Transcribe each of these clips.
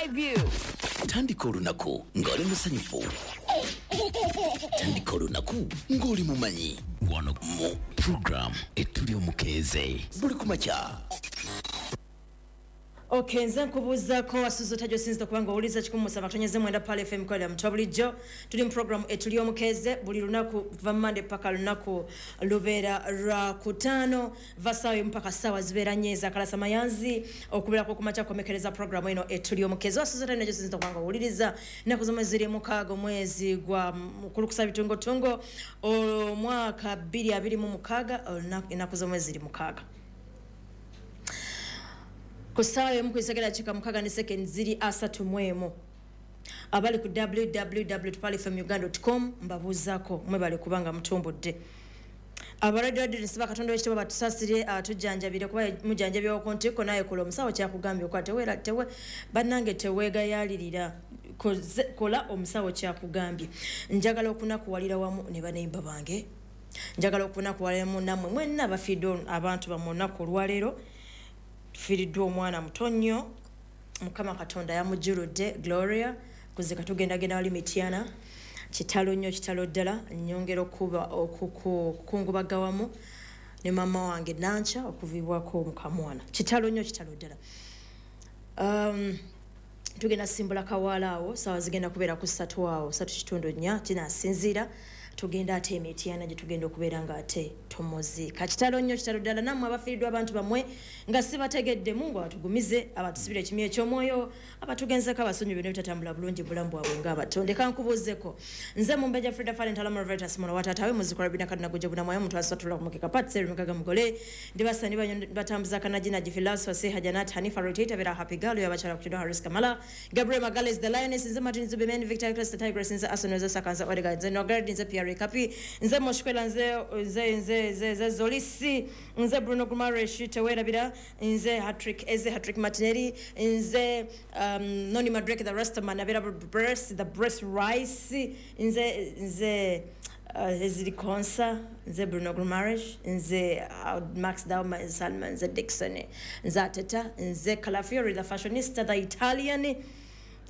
Skyview. Tandika olunaku ng'oli musanyufu. Tandika olunaku ng'oli mumanyi. Wano mu program Etuli Omukeeze buli kumakya. Okay, nze nkubuuzaako wasuze otya gy'osinzidde okuba nga owuliriza 107.9 Pearl FM kolera mutwa bulijjo. Tuli mu program Etuli Omukeeze buli lunaku kuva Monday paka lunaku lubeera lwa kutaano va ssaawa emu paka ssaawa zibeera nnya ezakalasa mayanzi okubeerako okumakya kukomekereza program eno Etuli Omukeeze. Wasuze otya gy'osinzidde okuba nga owuliriza ennaku z'omwezi ziri 6 omwezi gwa Mukulukusa Bitungotungo omwaka 2026 ennaku z'omwezi ziri 6. Ku ssaawa emu ku isegera dakika 6 ne sekendi ziri 31. Abali ku www.pearlfmuganda.com mbabuuzaako mwebale kubanga mutumbudde. Abalwadde nsiba Katonda w'ekitiibwa batusaasire atujjanjabire kuba mujjanjabirwa ku ntikko naye kola omusawo kyakugambye okukola teweera tewe bannange teweegayaalirira kola omusawo kyakugambye. Njagala okunakuwalira wamu ne baneiba bange, njagala okunakuwaliramu nammwe mwenna abafiiddwa abantu bammwe olunaku olwaleero. Tufiiriddwa omwana muto nnyo, Mukama Katonda yamujjuludde Gloria kuzika tugendagenda wali Mityana. Kitalo nnyo, kitalo ddala. Nnyongera okuba okukungubaga wamu ne maama wange Nankya okuviibwako mukamwana. Kitalo nnyo, kitalo ddala. Tugenda simbula kawaala awo, saawa zigenda kubeera ku 3 awo, 3.4 kinasinziira. Tugenda ate Emityana gye tugenda okubeera nga ate tumuziika. Kitalo nnyo, kitalo ddala. Nammwe abafiiriddwa abantu bammwe nga sibategedde, Mungu abatugumize, abatusibire ekimyu eky'omwoyo, abatugenzeko abasonyi byonna ebitatambula bulungi bulamu bwabwe ng'abatonde. Kankubuuzeko nze Mumbejja Frida Fale Ntalama Veritas muno wataatawe muzikula Rabina Kadina Gujja Bunamwayo omuntu asatula ku mukeka Pat Seri Mugaga Mugole ndibasa ndibanyo batambuza Kanajina Jifilas Fasiha Janat Hanifa Rotator Vera Happy Girl y'abakyala ku Kido Harris Kamala Gabriel Magales the Lioness nze Martin Zubimen Victor Christ the Tigress nze Arsenal nze Sakanza Odegaard nze Nogard nze Pierre Kapi nze Moshkwela nze nze nze nze nze Zolisi nze Bruno Guimaraes tewerabira nze Hattrick Eze Hattrick Martinelli nze Noni Madrek the Rastaman abera Breast the Breast Rice nze nze Ezri Konsa nze Bruno Guimaraes nze Max Dauma Salman nze Dixon nze Ateta nze Calafiori the fashionista the Italian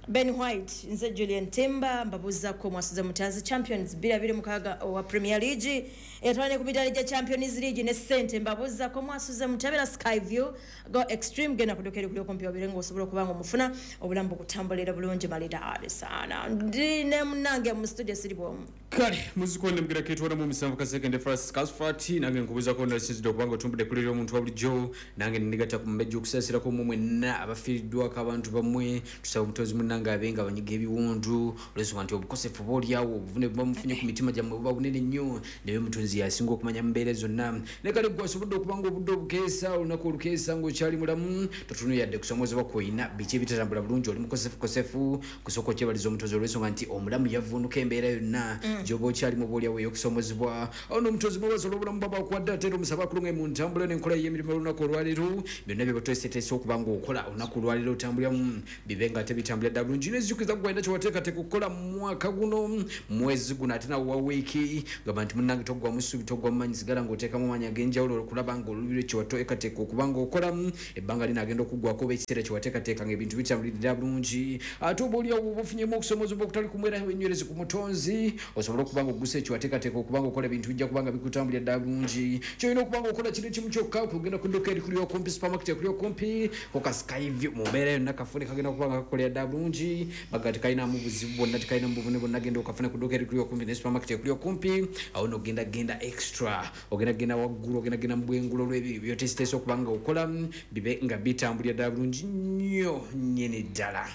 Ben White nze Julian Timber mbabuuzaako mwasuze mutya champions 2026 owa Premier League etwala ku midaali gya Champions League ne ssente mbabuuzaako mwasuze mutya beera Skyview go extreme genda kuduka eri kuli okumpi obire ng'osobola okuba nga omufuna obulamu bukutambulira bulungi malidaadi sana. Ndi ne munnange mu studio siri bwomu. Kale muzikonde mugira ketwala mu 7 kasekende Francis Casfat nange nkubuuzako nasinzidde okubanga otumbudde kulira omuntu wa bulijjo nange nnegatta ku mbejja okusaasirako mmwe mwenna abafiiriddwako abantu bammwe. Tusaba omutonzi munnange abe nga abanyiga ebiwundu olw'ensonga nti obukosefu oba oliawo obuvune buba mufunye ku mitima gyammwe buba bunene nnyo, naye omutonzi y'asinga okumanya mu mbeera zonna. Naye kale ggwe asobodde okuba nga obudde obukeesa olunaku olukeesa ng'okyali mulamu totunula yadde kusomoozebwa kw'olina biki ebitatambula bulungi oli mukosefukosefu kusooka okyebaliza omutonzi olw'ensonga nti omulamu yavvuunuka embeera yonna gy'oba okyalimu oba oliawo ey'okusoomozebwa. Awo n'omutonzi mwebaza olw'obulamu bw'aba akuwadde ate era omusaba akulunge mu ntambula n'enkola y'emirimu olunaku olwaleero. Byonna bye bateeseteese okuba ng'okola olunaku olwaleero otambuliramu bibe nga ate bitambulira ddala bulungi. Nezijjukiza ggwe alina kye wateekateeka okukola mu mwaka guno mwezi guno ate nawe wa wiiki gamba nti munnange toggwamu ssuubi toggwamu maanyi sigala ng'oteekamu amaanyi ag'enjawulo okulaba ng'olubiro kye wateekateeka okuba ng'okola ebbanga lino agenda okuggwako oba ekiseera kye wateekateeka ng'ebintu bitambulira bulungi. Ate oba oliawo oba ofunyemu okusomoozebwa okutali kumwera wenywereze ku mutonzi osobole okuba ng'oggusa ekyo wateekateeka okuba ng'okola ebintu bijja kuba nga bikutambulira ddala bulungi. Kyolina okuba ng'okola kino kimu kyokka kugenda ku dduuka erikuli okumpi supermarket ekuli okumpi ko ka Skyview mu mbeera yonna kafune kagenda kuba nga kakolera ddala bulungi baga tekalinamu buzibu bwonna tekalinamu buvune bwonna genda okafune ku dduuka erikuli okumpi ne supermarket ekuli okumpi awo nno ogenda genda extra ogenda genda waggulu ogenda genda mu bwengula olw'ebyo byoteeseteese okuba nga okola bibe nga bitambulira ddala bulungi nnyo nnyini ddala.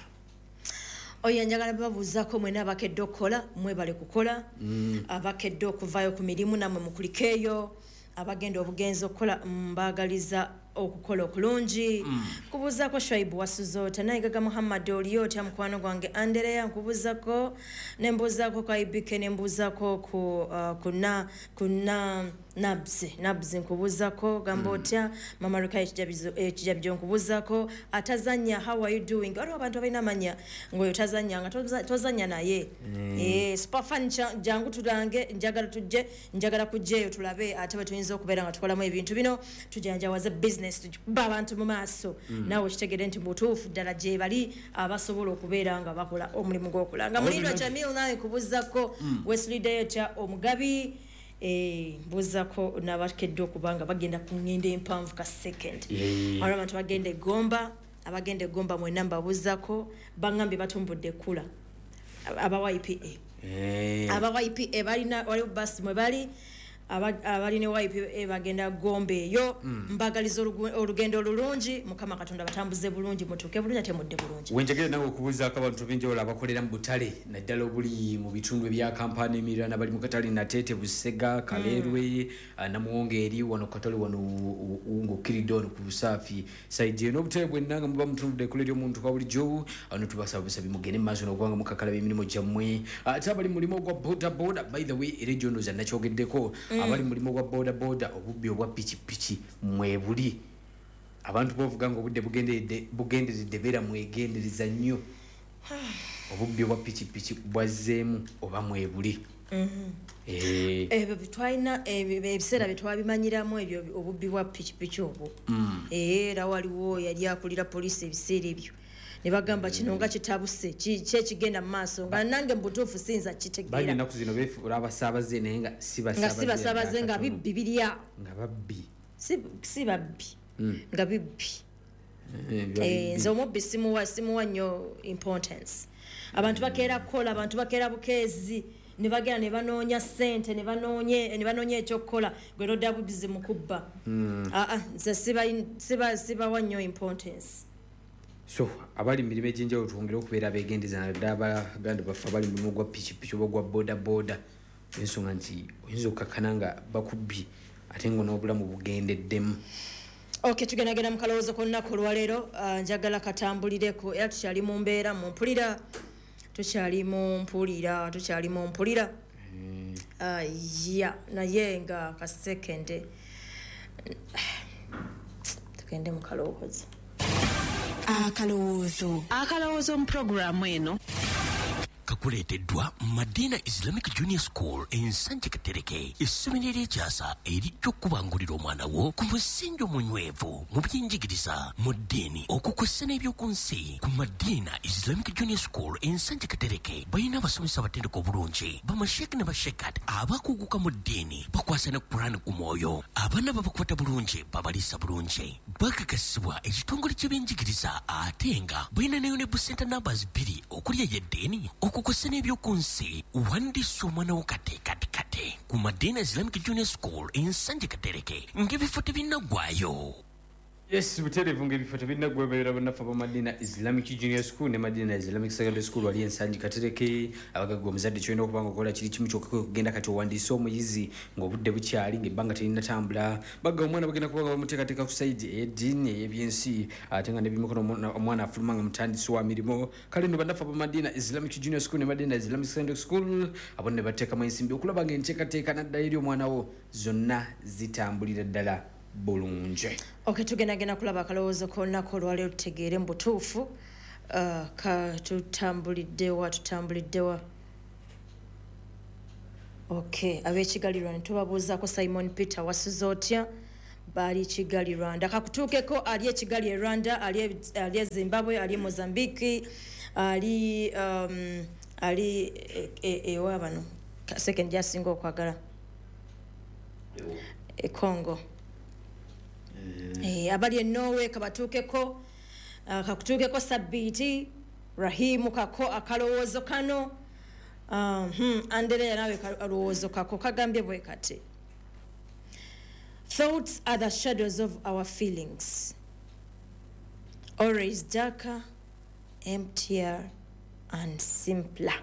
Oyo njagala babuuzaako mwena abakedde okukola mwebale kukola, abakedde okuvaayo ku mirimu nammwe mukulikeeyo, abagenda obugenzi okukola mbaagaliza okukola okulungi. Nkubuuzaako Shaibu wasuze otya, Nayigaga Muhammad oli otya mukwano gwange Andereya nkubuuzaako ne mbuuzaako ku IBK ne mbuuzaako ku na Nabs nkubuzako gamba otya Mama Rukai ekijabyo nkubuzako atazanya, how are you doing? Waliwo abantu abalina amanya ng'oyo tazanya nga tozanya naye. Superfan jangu tulange, njagala tujje, njagala kujjeeyo tulabe ate bwe tuyinza okubeera nga tukolamu ebintu bino, tujanjawaze business, tukuba abantu mu maaso. Naawe okitegere nti mubutuufu ddala gye bali abasobola okubeera nga bakola omulimu gw'okulanga. Mulindwa Jamil nawe nkubuzako, wesuliddeyo tya omugabi? Mbuzako n'abakedde okuba nga bagenda ku ngendo empanvu ka second. Waliwo abantu bagenda egomba, abagenda egomba mwenna mbabuzako, bangambye batumbudde ekkula aba YPA. Aba YPA balina, waliwo basi mwe bali abalina YPA bagenda gomba eyo. Mbagaliza olugendo olulungi, Mukama Katonda batambuze bulungi, mutuuke bulungi ate mudde bulungi. Wenjagala nawe okubuuzaako abantu b'enjawulo abakolera mu butale, naddala obuli mu bitundu ebya Kampala n'emiriraano, abali mu katale Nateete, Busega, Kaleerwe, Namuwongo eri wano katale wano ng'okkiridde wano ku Busaafi side eno, obutale bwenna nga muba mutunudde ekkula ery'omuntu kwa bulijjo, ano tubasaba busabi mugende mu maaso n'okuba nga mukakalaba emirimu gyammwe. Ate abali mu mulimu ogwa boda boda, by the way, era egyo ndowooza nakyogeddeko, abali mu mulimu gwa boda boda, obubbi obwa pikipiki mwebuli, abantu bovuga nga obudde bugenderedde, beera mwegendereza nnyo, obubbi obwa pikipiki bwazzeemu oba mwebuli. Ebyo twalina ebiseera bye twabimanyiramu ebyo obubbi bwa pikipiki obwo. Era waliwo yali akulira poliisi ebiseera ebyo ne bagamba kino nga kitabuse, kyekigenda mu maaso, nga nange mu butuufu siyinza kitegeera. Bangi ennaku zino beefuula abasaabaze naye nga si nga si basaabaze, nga bibbi biri awo, nga babbi, si babbi, nga bibbi. Nze omubbi simuwa nnyo importance. Abantu bakeera kukola, abantu bakeera bukeezi ne bagenda ne banoonya ssente, ne banoonya ekyokukola, gwe nodda bubizi mu kubba. Nze sibawa nnyo importance. So abali mu mirimu egy'enjawulo twongere okubeera abeegendereza, naddala abaganda baffe abali mu mulimu gwa pikipiki oba gwa boda boda, ensonga nti oyinza okukakkana nga bakubbye ate nga n'obulamu bugendeddemu. Okay, tugendagenda mu kalowoozo k'olunaku olwaleero. Njagala katambulireko, era tukyali mu mbeera mu mpulira, tukyali mu mpulira, tukyali mu mpulira. Ya naye nga kasekende tugende mu kalowoozo. Akalowoozo mu pulogulaamu eno kakuleeteddwa Madina Islamic Junior School Ensanje Katereke, essomero ery'ekyasa erijja okubangulira omwana wo ku musingi omunywevu mu byenjigiriza, mu ddiini, okukwessa n'ebyoku nsi. Ku Madina Islamic Junior School Ensanje Katereke balina abasomesa abatendeka obulungi, bamasheeke ne bashekat abakuguka mu ddiini, bakwasa ne Quran ku mwoyo. Abaana babakwata bulungi, babaliisa bulungi, bakakasibwa ekitongole ky'ebyenjigiriza, ate nga balina ne UNEB center numbers 2 okuli ey'eddiini, okukosa n'ebyoku nsi. Wandiisa omwana wo kate kate kate ku Madina Islamic Junior School Ensanje Katereke ng'ebifo tebinnaggwayo. Yes, butereevu ng'ebifo tebinnaggwayo, beera bannaffe aba Madina Islamic Junior School ne Madina Islamic Secondary School wali Ensangi Katereke. Abagagga omuzadde kyolina okuba nga okola kiri kimu kyokka, kwe kugenda kati owandiise omuyizi ng'obudde bukyali, ng'ebbanga terinnatambula. Bagga omwana bagenda kuba nga bamuteekateeka ku side ey'eddiini, ey'ebyensi, ate nga n'ebyemikono, omwana afuluma nga mutandisi wa mirimu. Kale nno bannaffe aba Madina Islamic Junior School ne Madina Islamic Secondary School abo ne bateekamu ensimbi okulaba ng'enteekateeka naddala eri omwana wo zonna zitambulira ddala bulungi. Okay, tugendagenda kulaba akalowoozo k'olunaku olwaleero, tutegeere mu butuufu ka tutambuliddewa, tutambuliddewa. Okay, ab'e Kigali Rwanda tubabuuzaako. Simon Peter, wasuze otya? Bali Kigali Rwanda, kakutuukeko ali e Kigali e Rwanda, ali e Zimbabwe, ali e Mozambique, ali ewa bano second gyasinga okwagala e Congo. Abali e Norway kabatuukeko, kakutuukeko Sabbiiti Rahimu kako akalowoozo kano. Andereya nawe kalowoozo kako kagambye bwe kati: thoughts are the shadows of our feelings, always darker, emptier and simpler.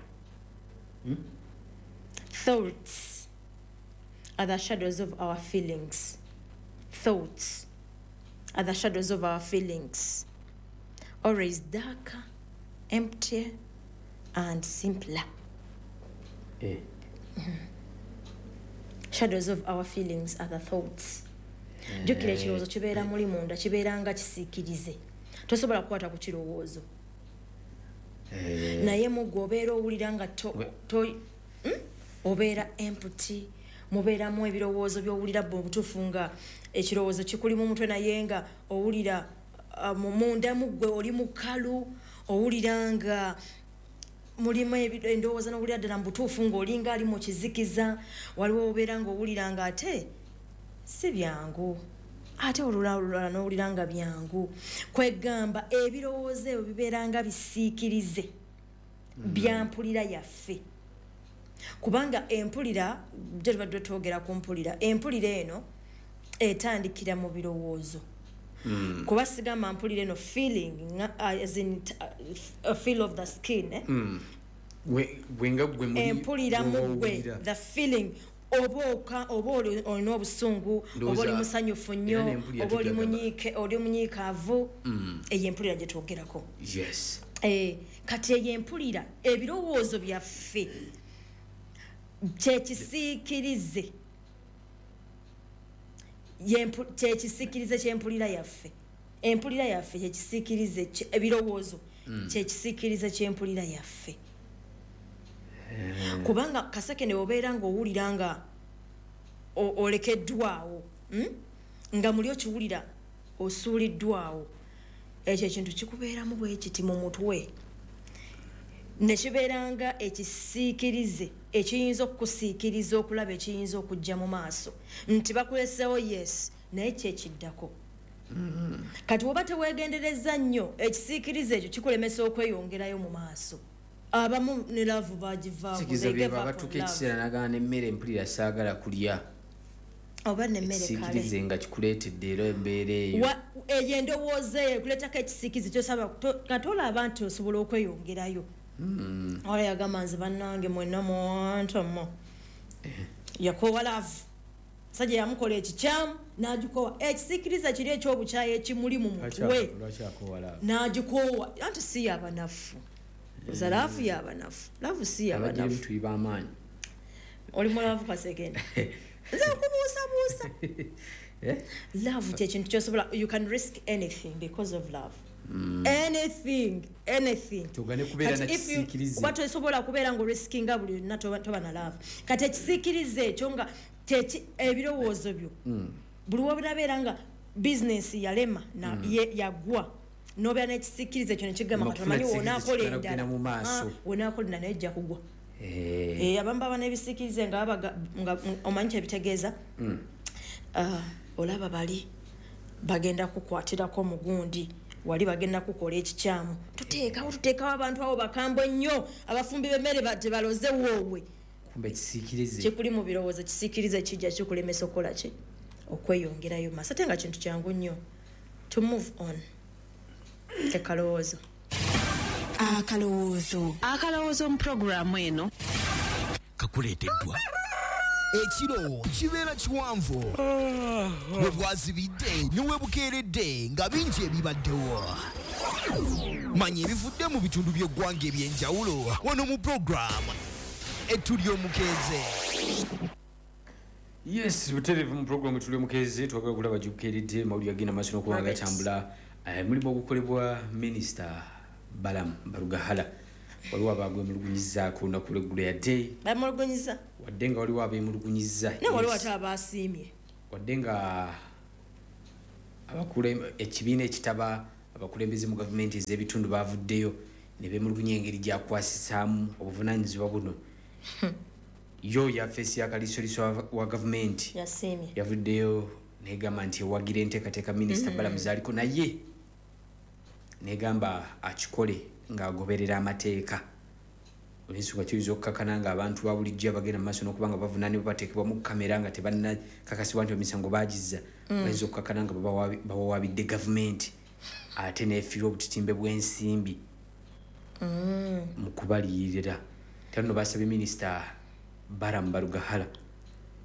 Thoughts are the shadows of our feelings. Thoughts are the shadows of our feelings, always darker, emptier and simpler. Shadows of our feelings are the thoughts. Jjukira, ekirowoozo kibeera muli munda, kibeera nga kisiikirize, tosobola kukwata ku kirowoozo, naye mugwe obeera owulira nga Obeera empty, mubeeramu ebirowoozo by'owulira bwe obutuufu nga ekirowoozo kikuli mu mutwe, naye nga owulira munda mu ggwe oli mukalu, owulira nga mulimu endowooza n'owulira ddala mu butuufu ng'olinga ali mu kizikiza. Waliwo obeera ng'owulira nga ate si byangu, ate olulala n'owulira nga byangu. Kwegamba ebirowoozo ebyo bibeera nga bisiikirize bya mpulira yaffe, kubanga empulira gye tubadde twogera ku mpulira, empulira eno etandikira mu birowoozo. Kuba sigamba mpulira eno feeling as in a feel of the skin, eh? Gwe nga gwe muli empulira mu gwe, w'owulira. The feeling, oba olina obusungu, oba oli musanyufu nnyo, Era n'empulira oba oli tujagamba. munyiike, oli munyiikaavu, eyo empulira gye twogerako. Kati eyo empulira, ebirowoozo byaffe kyekisiikirize kyekisiikirize kyempulira yaffe. Empulira yaffe kyekisiikirize ebirowoozo kyekisiikirize kyempulira yaffe, kubanga Kaseke ne obeera ng'owulira nga olekeddwawo, Nga muli okiwulira osuuliddwawo, ekyo ekintu kikubeeramu bwe kiti mu mutwe, ne kibeera nga ekisiikirize ekiyinza okukusiikiriza okulaba ekiyinza okujja mu maaso nti bakuleseewo, yes, naye kyekiddako. Kati woba teweegendereza nnyo, ekisiikirize ekyo kikulemesa okweyongerayo mu maaso. Abamu ne love bagivaako. Sikiza They gave byeba up on batuuka love. ekiseera nagana n'emmere mpulira saagala kulya. Oba nemmere kale. Ekisiikirize nga kikuleetedde era embeera eyo. Eyo endowooza eyo ekuleetako ekisiikirize kyosaba kati olaba nti osobola okweyongerayo. Wala yagamba, nze bannange mwenna mwantama. Yakoowa love, musajja yamukola ekikyamu n'agikoowa. Ekisiikirize kiri ekyobukyayi ekimuli mu mutwe. Lwaki akoowa love? N'agikoowa anti si yabanafu oza love yabanafu, love si Abagirimu yabanafu. tuli b'amaanyi. Oli mu love, Kasekende? Nze nkubuusabuusa. Eh? Love kyekintu kyosobola, you can risk anything because of love. Anything, anything. Togane kubeera Kati na if you- kisiikirize. Kuba tosobola kubeera nga oriskinga buli luna, toba na love. Kati ekisiikirize ekyo nga kyeki ebirowoozo byo buli wobirabeera nga bizinesi yalema na yagwa, nobeera n'ekisiikirize ekyo nekigamba kati Okufuna omanyi ekisiikirize wonaakola kigenda endala kugenda mu maaso. Ah, wonaakola endala naye ejja kugwa. Abamu baba n'ebisiikirize nga nga omanyi kyebitegeeza. Ah, olaba bali bagenda kukwatirako mugundi, wali bagenda kukola ekikyamu, tuteekawo abantu abo bakambwe nnyo, abafumbi b'emmere tebaloze woobwe. Kumbe ekisiikirize Kikuli mu birowoozo, kisiikirize kijja kikulemesa okukola ki, okweyongerayo maaso, ate nga kintu kyangu nnyo to move on. Ekalowoozo. Akalowoozo. Akalowoozo mu puroguraamu eno kakuleeteddwa Ekiro kibeera kiwanvu, bwe bwazibidde ne we bukeeredde nga bingi ebibaddewo. Manya ebivudde mu bitundu by'eggwanga eby'enjawulo wano mu puroguramu Ettu Ly'omukeeze. Yes, butereevu mu programu Tuli Omukeezi. Twagala okulaba gikukeeredde mawulire agenda maaso n'okuba nga Right. gatambula. Mulimu ogukolebwa Minisita Balam Barugahala, waliwo abagwemulugunyizaako olunaku lweggulo yadde Bamulugunyiza? Wadde nga waliwo abeemulugunyiza. Naye waliwo Yes. ate abasiimye. Wadde nga ekibiina ekitaba abakulembeze mu gavumenti ez'ebitundu bavuddeyo ne beemulugunya engeri gyakwasisaamu obuvunaanyizibwa buno, yo yafeesi ya kaliisoliiso wa gavumenti Yasiimye. yavuddeyo negamba nti ewagira enteekateeka Minisita Balamu zaaliko, naye negamba akikole ng'agoberera amateeka, olwensonga kiyinza okukakana nga abantu ba bulijjo abagenda mu maaso n'okuba nga bavunaanibwa bateekebwa mu kamera nga tebannakakasibwa nti emisango bagizza, bayinza okukakana nga bawawaabidde gavumenti ate neefiirwa obutitimbe bw'ensimbi mu kubaliyirira. Era nno basabye Minisita Baram Barugahala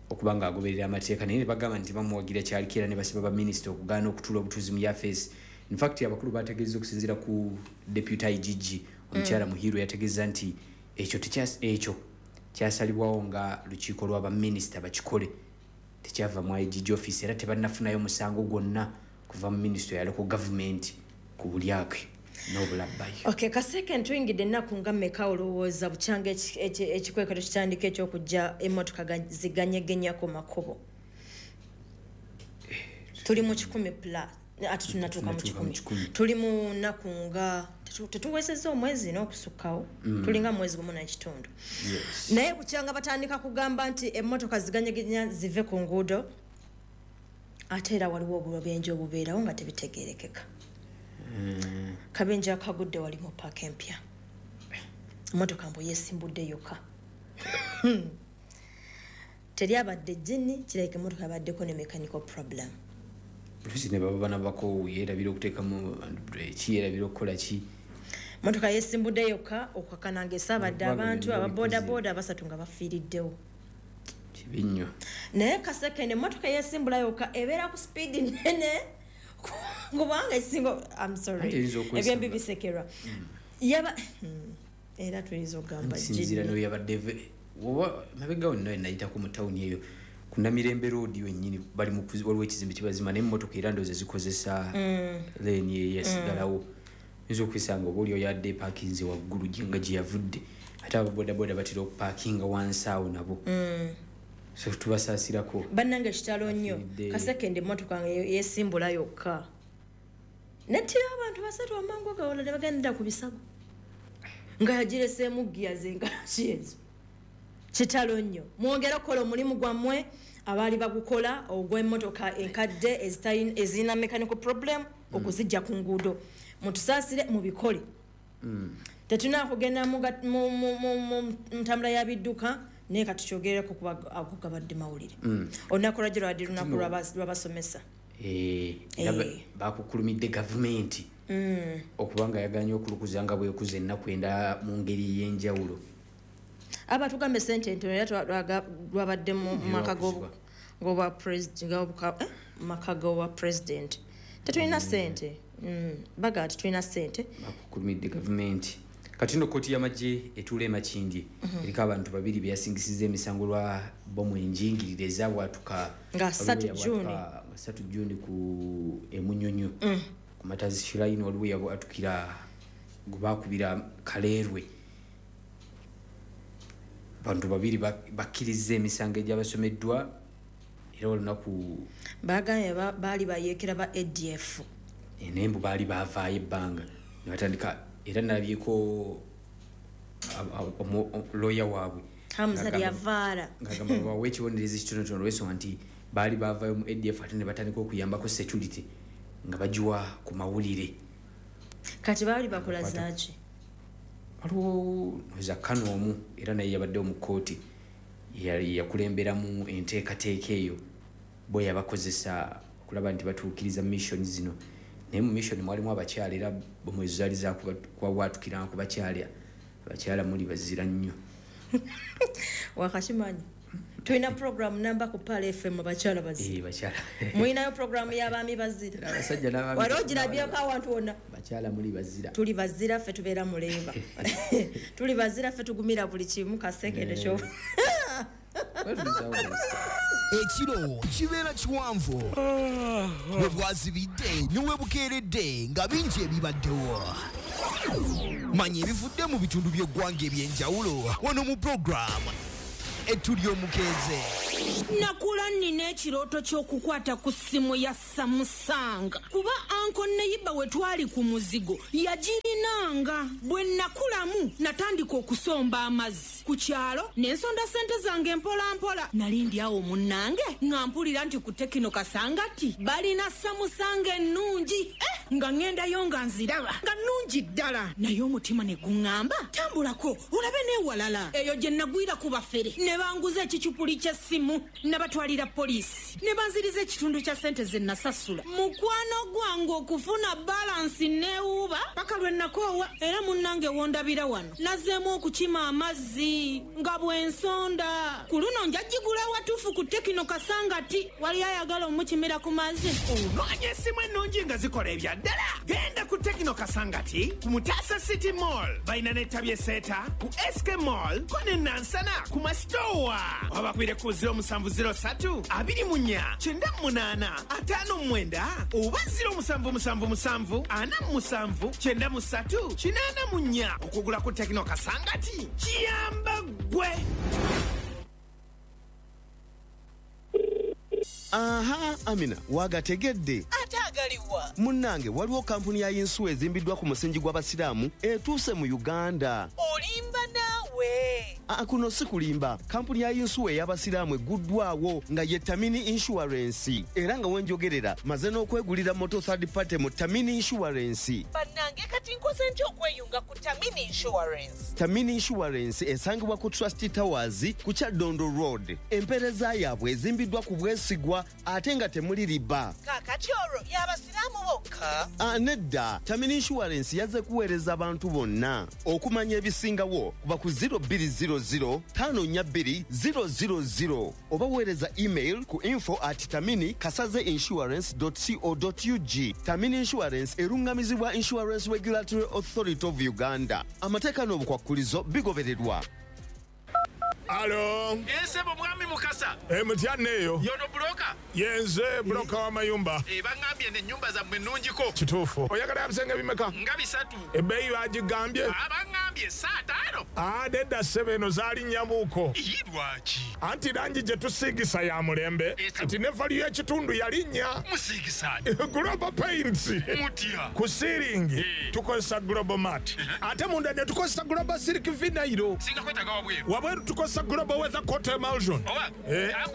okuba nga agoberera amateeka, naye ne bagamba nti bamuwagira kyaliko, era ne basaba baminisita okugaana okutuula obutuuzi mu yafeesi. Infact abakulu bategeeza, okusinziira ku deputy IGG omukyala Muhirwe, yategeeza nti ekyo ekyo Kyasalibwawo nga lukiiko lw'abaminisita bakikole, tekyava mu IGG office, era tebannafunayo musango gwonna kuva mu minisitule ya local government ku bulyake n'obulabbayi. Okay, Kaseke, ntuyingidde ennaku nga mmeka olowooza bukyanga ekikwekweto kitandika ekyokujja emmotoka ziganyegenya ku makubo? Tuli mu 100 plus, ate tunatuuka mu Tunatuuka mu 100. 100. Tuli mu nnaku nga tetuwesezza omwezi n'okusukkawo, tulinga mwezi gumu n'ekitundu. Naye bukyanga batandika kugamba nti emmotoka ziganyegenya zive ku nguudo, ate era waliwo obubenje obubeerawo nga tebitegeerekeka. Kabenje akagudde wali mu paaka empya, emmotoka mbu yeesimbudde yokka, teryabadde jjini, kirabika emmotoka yabaddeko ne mechanical problem. Oluusi ne baba banabako, yeerabira okuteekamu breki, yeerabira okukola ki. Motoka yesimbudde yokka okukakana nga esaabadde Kubanga abantu byonna ababoodabooda basatu nga bafiiriddewo. Kibi nnyo. Naye Kasekende, emmotoka eyesimbula yokka ebeera ku sipiidi nene, kubanga esinga, I'm sorry, Anti eyinza okwesamba. ebyembi bisekerwa yaba era tuyinza okugamba Nsinziira jjini. noyo yabadde oba mabega wonna nayitako mu tawuni eyo ku Namirembe Road wennyini, bali mu waliwo ekizimbe kibazima, naye emmotoka era ndowooza zikozesa leeni eyo yasigalawo. Oyinza okwesanga oba oli oyo adde epaakinze waggulu nga gye yavudde, ate ababodaboda batera okupaakinga wansi awo nabo, so tubasaasirako. Bannange, kitalo nnyo. Afiiridde. Kasekende, emmotoka nga yesimbula yokka nettira abantu basatu amangu agawala ne bagendera ku bisago nga yagireseemu giya zengalaki ezo. Kitalo nnyo. Mwongere okukola omulimu gwammwe abaali bagukola ogw'emmotoka enkadde ezirina mechanical problem okuzijja ku nguudo. Mutusaasire, mubikole. Tetulina kugenda mu ntambula ya bidduka, naye katukyogereko kuba ago gabadde mawulire. Olunaku lwajjo lwadde lunaku lw'abasomesa. Era bakukulumidde gavumenti okuba nga yaganye okulukuza nga bwekuza ennaku endala mu ngeri ey'enjawulo. Aba tugambe sente ntono, era lwabadde mu maka Lwakuzibwa. maka g'obwa president. Tetulina sente. Baga tetulina sente. Bakukulumidde gavumenti. Kati nno kkooti y'amagye etuula e Makindye eriko abantu babiri beyasingisiza emisango lwa bomu enjingirire ezabwatuka Nga 3 waliwo June. eyabwatuka nga 3 June ku Emunyonyo ku Matazi Shrine, waliwo eyabwatukira gwe bakubira Kaleerwe. Abantu babiri bakkiriza emisango egyabasomeddwa era olunaku Bagambye baali bayeekera ba ADF. Naye mbu baali bavaayo ebbanga ne batandika, era nalabyeko lawyer waabwe Hamza Lyavaala. Ng'agamba babawe ekibonerezo ekitonotono olw'ensonga nti baali bavaayo mu ADF ate ne batandika okuyambako security nga bagiwa ku mawulire. Kati baali bakola zaaki? Waliwo oza kano omu era naye yabaddewo mu kkooti, yakulemberamu enteekateeka eyo, bo yabakozesa okulaba nti batuukiriza mission zino, naye mu mission mwalimu abakyala, era bomu ezo zaali zakubwatukiranga ku bakyala. Abakyala muli bazira nnyo. Wakakimanyi tulina program namba ku Pal FM, abakyala bazira. Bakyala. Mulinayo programu y'abaami bazira? Abasajja n'abaami. Wali ogirabyeko awantu wonna? Bakyala muli bazira. Tuli bazira ffe, tubeera muleeba, tuli bazira ffe, tugumira buli kimu. Kasekende kyo. Ekiro kibeera kiwanvu, bwe bwazibidde ne we bukeeredde nga bingi ebibaddewo. Manya ebivudde mu bitundu by'eggwanga eby'enjawulo wano mu puroguramu Ettu Ly'omukeeze. Nakula nnina ekirooto ky'okukwata ku ssimu ya Samsung, kuba uncle neighbour we twali ku muzigo yagirinanga. Bwe nakulamu natandika okusomba amazzi ku kyalo ne nsonda ssente zange mpola mpola. Nali ndi awo munnange nga mpulira nti ku Tecno Kasangati balina Samsung ennungi. Nga ŋŋendayo nga nziraba nga nnungi ddala, naye omutima ne guŋŋamba tambulako olabe n'ewalala. Eyo gye nagwira ku bafere ne banguza ekicupuli ky'essimu nabatwalira. Nentwalira poliisi ne banziriza ekitundu kya ssente ze nasasula. Mukwano gwange okufuna balansi neewuuba paka lwe nakoowa. Era munnange wondabira wano nazzeemu okukima amazzi nga bw'ensonda. Ku luno njagigula watuufu ku Tekino Kasangati. Wali ayagala omukimira ku mazzi. Onoonya essimu ennungi nga zikola ebya ddala, genda ku Tekino Kasangati ku Mutasa City Mall. Balina n'ettabi eseeta ku SK Mall ko ne Nansana ku Masitowa. Wabakubire ku 0703 24 98 59 oba 0777 47 93 84. Okugula ku Tekino Kasangati kiyamba ggwe. Aha, Amina, wagategedde. Ate agaliwa? Munnange, waliwo kampuni ya yinsuwa ezimbiddwa ku musingi gw'Abasiraamu etuuse mu Uganda. Olimba naawe. Kuno si kulimba. Kampuni ya yinsuwa ey'Abasiraamu egguddwawo nga ye Tamini Insurance. Era nga wenjogerera maze n'okwegulira moto third party mu Tamini Insurance. Bannange, kati nkoze ntya okweyunga ku Tamini Insurance? Tamini Insurance esangibwa ku Trust Towers ku Kyaddondo Road. Empeereza yaabwe ezimbiddwa ku bwesigwa ate nga temuli riba. Kaakati olwo y'Abasiraamu bokka? Nedda, Tamini Insurance yazze kuweereza abantu bonna. Okumanya ebisingawo kuba ku 0200 542 000 oba weereza email ku info@taminikasaze.insurance.co.ug. Tamini Insurance erungamizibwa Insurance Regulatory Authority of Uganda. Amateeka n'obukwakkulizo bigobererwa. Alo. Esebo mwami Mukasa. Mutya neeyo. Yono buloka. Yenze buloka w'amayumba. Bangambye n'ennyumba zammwe nnungiko. Kituufu. Oyagala ebisenge bimeka? Nga 3. Ebbeeyi bagigambye? Bangambye 5. Nedda ssebo, eno zaalinnya-muko. Lwaki? Anti langi gye tusiigisa ya mulembe. Kati ne value y'ekitundu yalinnya. Musiigisa? Global Paints. Mutya? Ku siiringi tukozesa Global Mat. Ate munda ne tukozesa Global Silk Vinyl. Singa kwetaaga wabweru. Wabweru tukozesa Global Weather Coat Emulsion. Oba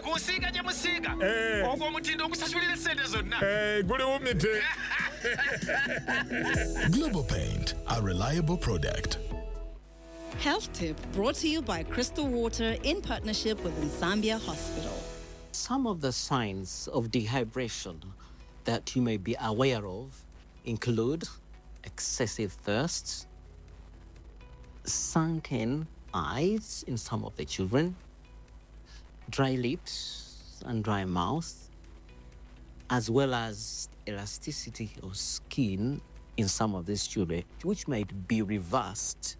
kusiiga gye musiiga. Ogwo omutindo ogusasulira essente zonna. Guli wumite. Global Paint, a reliable product. Health Tip brought to you by Crystal Water in partnership with Nsambya Hospital. Some of the signs of dehydration that you may be aware of include excessive thirst, sunken eyes in some of the children, dry lips and dry mouth, as well as elasticity of skin in some of these children, which might be reversed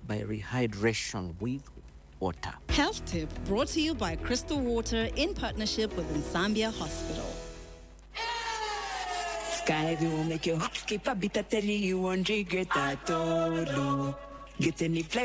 by rehydration with water. Health Tip brought to you by Crystal Water in partnership with Nsambya Hospital. Sky will make your heart skip a beat. I tell you, you won't regret at all. Get any flight